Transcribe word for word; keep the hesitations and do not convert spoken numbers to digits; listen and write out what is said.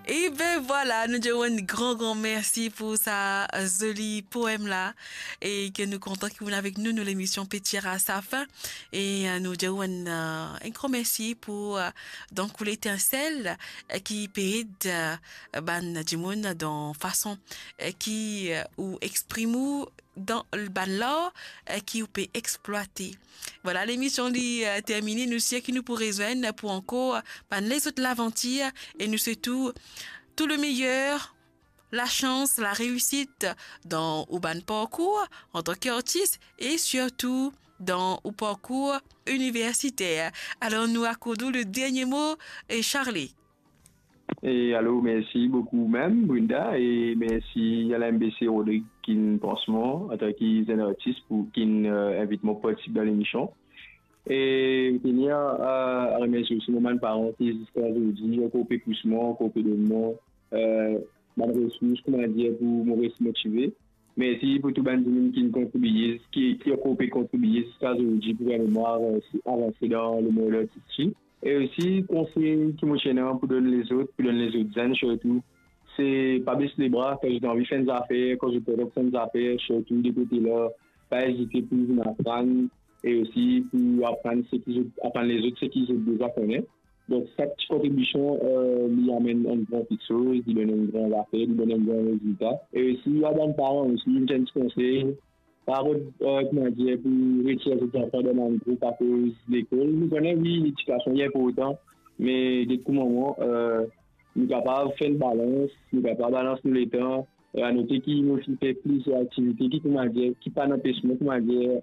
Ebe vwala, nou dir ou enn gran, gran mersi pou sa zoli poem la, e ke nou kontan ki ou avek nou, nou lemision pe tir a sa fin, e, eh, nou dir ou enn, eh, enn gran mersi pou, eh, donk, ou letinsel, eh, ki pe ed, eh, bann dimoun dan fason, eh, ki, eh, ou exprim ou dan bann lar, eh, ki ou pe explwate. Vwala, lemision li, eh, termine. Nou sir ki nou pou rezwenn pou ankor bann lezot lavantir, e nou swet ou tou le meyer, lasans, lareisit dan ou bann parkour antan ki artis e sirtou dan ou parkour iniversiter. Alor, nou akord ou le dernie mo, e Charlie. E alor, mersi boukou mem, Brenda, e mersi a la M B C Rodrig ki'nn pans mwa antan ki zenn artis pou ki'nn, eh, invit mwa partisip dan lemision. E tenir a, a remersie osi mo bann paran ki ziska zordi ankor pe pous mwa, ankor pe donn mwa, eh, bann resours, kouma dir, pou mo res motive. Mersi pou tou bann dimoun ki'nn kontribie, ki, ki ankor pe kontribie ziska zordi pou permet mwa avanse, avanse dan lemond artistik. E osi, konsey ki mo ti ena pou donn lezot, pou donn lezot zenn sirtou, se pa bes lebra kan zot anvi fer enn zafer, kan zot kontan fer enn zafer, sirtou de kote la, pa ezite pou vinn aprann, e osi pou aprann seki zot, aprann lezot seki zot deza kone. Donk, sak ti kontribision, eh, li amenn enn gran kiksoz, li donn enn gran zafer, li donn enn gran rezilta. E osi, a bann paran osi, enn ti konsey, pa rod, eh, kouma dir, pou retir zot zanfan dan bann group akoz lekol. Nou kone, wi, ledikasion li inportan, me get kouma mwa, eh, nou kapav fer enn balans, nou kapav balans nou letan. Eh, anote ki nou finn fer plizier aktivite ki, kouma dir, ki pa'nn anpes nou, kouma dir,